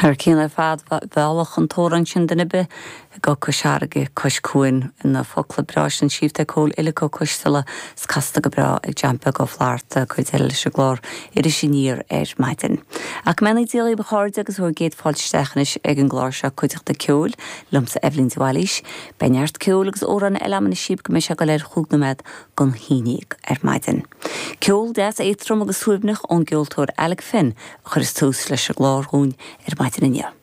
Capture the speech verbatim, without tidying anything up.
Thar cionn ar fad mheallfadh an t-amhrán sin duine ar bith go Cois Fharraige cois cuain na focla breá sin scríofa ag Cóil Uillic Ó Coisteala 's casta go breá ag John Beag Ó Flatharta cuid eile leis an gclár Iris Aniar ar maidin. Ach go mbeannaí Dia daoibh a chairde agus bhur gcéad fáilte isteach anois ag an gclár seo cuideachta ceoil liomsa Eibhlín de Bhailís, Beidh neart ceoil agus amhrán eile agam anois go mbeidh sé go léir chúig nóiméad don haon déag ar maidin. Ceol deas éadrom agus suaimhneach ón gceoltóir Alec Finn a chuireas tús leis an gclár dhúinn ar maidin inniu.